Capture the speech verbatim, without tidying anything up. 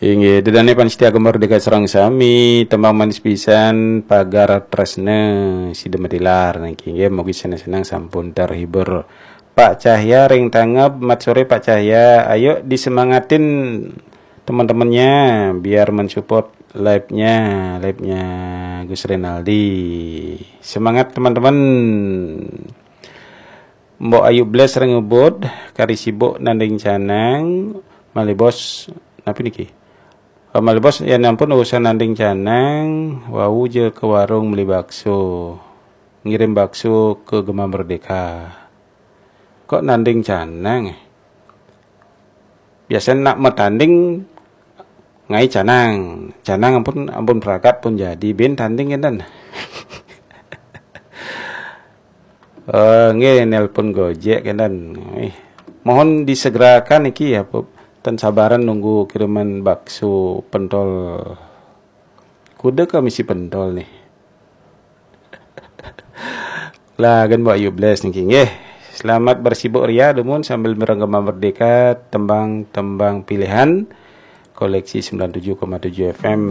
Inggih, dedane pamiarsa Gema Merdeka sareng sami, tembang manis pisan Pagar Tresna sida matilar niki. Inggih, mugi seneng-seneng sampun terhibur. Pak Cahya ring tangeb, mat sore Pak Cahya. Ayo disemangatin teman-temannya biar mensupport live-nya, live-nya Gus Renaldi. Semangat teman-teman. Mbok Ayu Bles ring Ubud, kari sibuk nanding canang, malih bos, napi niki? Eh, malih bos, ya ampun urusan nanding canang, wau ja ke warung beli bakso. Ngirim bakso ke Gema Merdeka. Kok nanding canang eh? Biasanya nak matanding ngai canang. Canang ampun ampun pragat pun jadi bin tanding enten. Eh, nggih nelpon Gojek enten. Eh, mohon disegerakan iki ya, Bu. Ten sabaran nunggu kiriman bakso pentol. Kuda ke misi pentol nih. Lah, gen Mbok Ayu Bles niki nggih. Selamat bersibuk ria dumun sambil mereng Gema Merdeka, tembang-tembang pilihan koleksi sembilan tujuh koma tujuh F M.